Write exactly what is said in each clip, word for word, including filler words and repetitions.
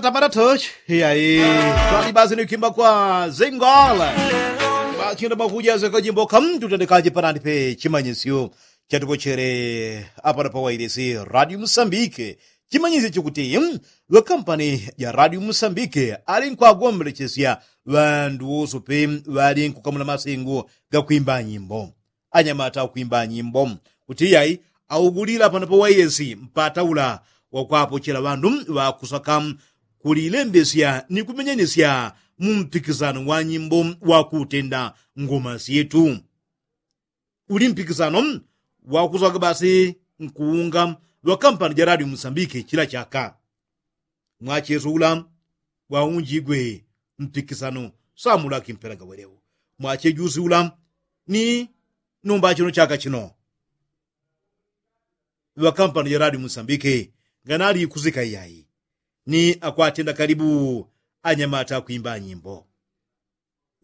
Tamaratochi. Iyayi, twali basi ni kwimba kwa zingole. Bachino makuja zeko jimbo kamtutendekaje panandi pe chimanyisyo chatupochele apano pa wailesi radio musambike. Chimanyisyo chikuti, mm, ŵakampani ja radio musambike ali nkwagombelechesya ŵandu woso pe ŵali nkukamula masengo gakwimba nyimbo. Anyamata akwimba nyimbo kuti iyayi augulila pano pa wailesi mpata ula wakwapochela ŵandu ŵakusaka kulilembesya ni kumenyanisya mu mpikisano wa nyimbo wa kutenda ngoma syetu. Uli mpikisano wakusaka basi nkuunga ŵakampani ja radio musambike chila chaka. Mwacheso ula waunjigwe mpikisano samula kimpela gaweleu. Mwachejusi ula ni nomba chino chaka chino ŵakampani ja radio musambike nganali ikusika iyayi ni akwatenda kalibu anyamata akwimba nyimbo.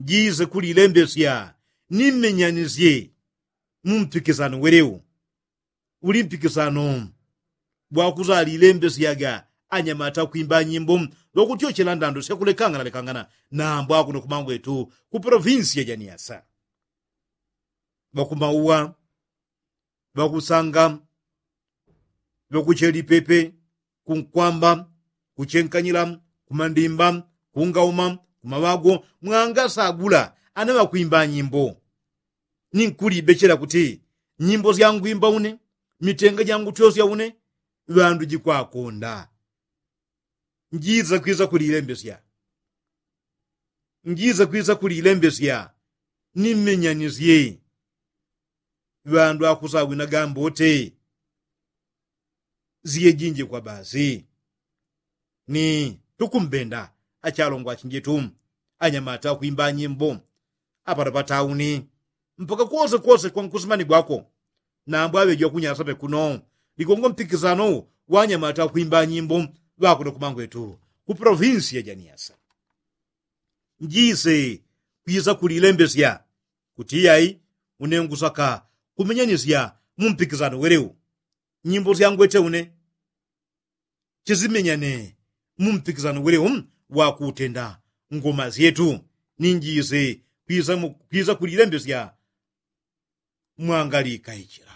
Njise kulilembesya ni mmenyanisye mu mpikisano weleu. Uli mpikisano bwakusalilembesyaga anyamata akwimba nyimbo ŵakutyochela ndando syakulekangana lekangana nambwa kuno kumangwetu ku polovinsi ya janiasa. Ŵakumauwa ŵakusanga ŵakuchelipepe kunkwamba kuchenkanyila kumandimba kungauma kumaŵago mwangasagula ana ŵakwimba nyimbo. Ninkulibechela kuti nyimbo syangwimba une mitenga jangutwesya une ŵandu jikwakonda. Njiza kwisa kulilembesya njiza kwisa kulilembesya ni mmenyanisye ŵandu akusawina gambote. Siye jinji kwa basi ni tukumbenda achalongwa achinjetu anyamata akwimba nyimbo apata patauni mpaka kwose kwose kwa nkusimanigwako. Nambwa aŵeji wakunyasa pekuno ligongo mpikisano wa anyamata akwimba nyimbo ŵakuno kumangwetu ku polovinsi ya janiasa. Njise kwisa kulilembesya kuti iyayi une ngusaka kumenyanisya mu mpikisano weleu. Nyimbo syangwete une chisimenyane mu mpikisano weleu wakutenda ngoma syetu. Ninjise kwisa kulilembesya mwangalikaichila.